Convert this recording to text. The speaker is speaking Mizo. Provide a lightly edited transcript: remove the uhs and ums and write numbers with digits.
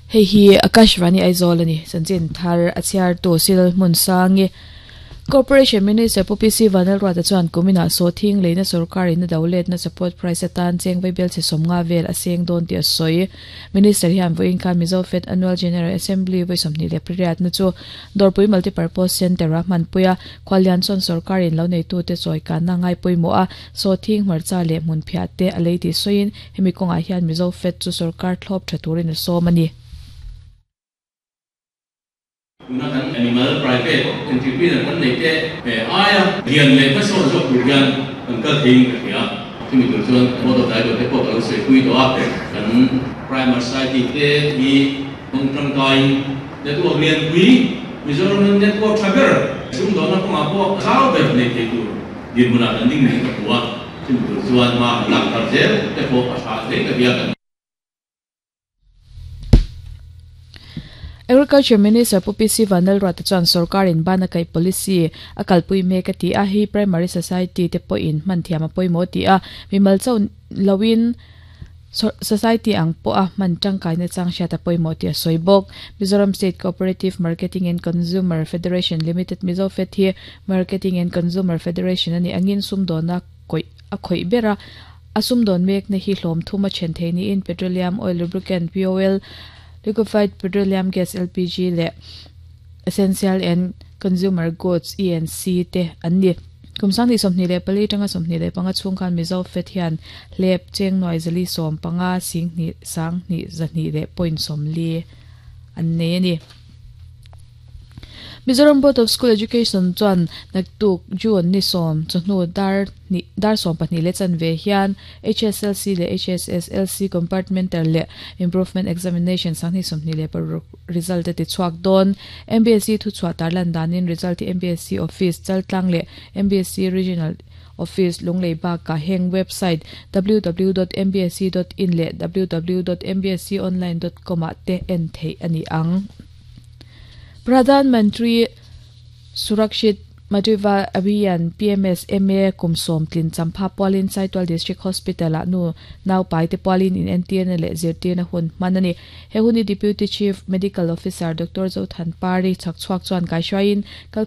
Hei hi Akashvani Aizawl a ni. Chanchin thar a chhiartu Sil Hmunsangi. Corporation Minister Pu PC Vanlalruata chuan kuminah sawhthing leina sorkarin a do letna support price atan cheng vaibel chhe 50 vel a seng dawn tih a sawi. Minister hian vawiin khan Mizo Fed Annual General Assembly vawi 28na chu Dawrpui Multipurpose Centre-a hmanpui a, Khuallian chuan sorkarin lo neitute chawikanna ngai pawimawh a, sawhthing hmarcha leh hmunphiah te a lei tih sawiin hemi kawngah hian Mizo Fed chu sorkar thlawp tha turin a sawm a ni. Tuna kan animal private entrepreneur kan nei te aia lian leh hmasawn zawk tur hian kan kal theiin ka hria. Chumi tur chuan Board of Director te pawh ka lo sawi pui tawh a, kan Primary Society te hi hmang tangkaiin network lianpui Mizoram network tha ber sumdawnna kawngah pawh zau ber nei thei tur dinhmunah kan ding niin ka hmu a, chumi tur chuan hma kan lak thar zel te pawh a tha hle ka hria kan. Agriculture Minister Pu PC Vanlalruata chuan sorkarin bana kaih policy a kalpui mek a ti a, hei primary society te pawhin hman thiam a pawimawh a ti a, mimal chauh loin society ang pawha hman tangkaina chang hriat a pawimawh tih a sawi bawk. Mizoram State Cooperative Marketing and Consumer Federation Limited Mizofed hi Marketing and Consumer Federation a nih angin sumdawna kawih a khawih ber a, a sumdawn mekna hi hlawm thum a then thei niin Petroleum Oil Lubricant, POL, Liquefied Petroleum Gas, LPG, leh Essential and Consumer Goods, ENC, te an ni. Kum 2024 atanga 25 chhung khan Mizo Fed hian hlep cheng nuai zali 15 sing hnih sang hnih zahnih leh point 40 an nei a ni. Mizoram Board of School Education chuan naktuk June ni 10 chawhnu dar hnih dar 12 leh chanve hian HSLC leh HSSLC Compartmental leh Improvement Examination 2026 result a ti chhuak dawn. MBSE thuchhuah tarlan danin result hi MBSE Office Chaltlang leh MBSE Regional Office Lunglei bakah heng website www.mbse.in leh www.mbseonline.com ah te en theih a ni ang. Pradhan Mantri Surakshit Matritva Abhiyan, PMSMA, kum 10 tlin champha pualin Saitual District Hospital-ah nu naupai te pualin inentirna leh zirtirna hun hman a ni. He hun hi Deputy Chief Medical Officer Doctor Zothanpari chhakchhuak chuan kaihruaiin kal.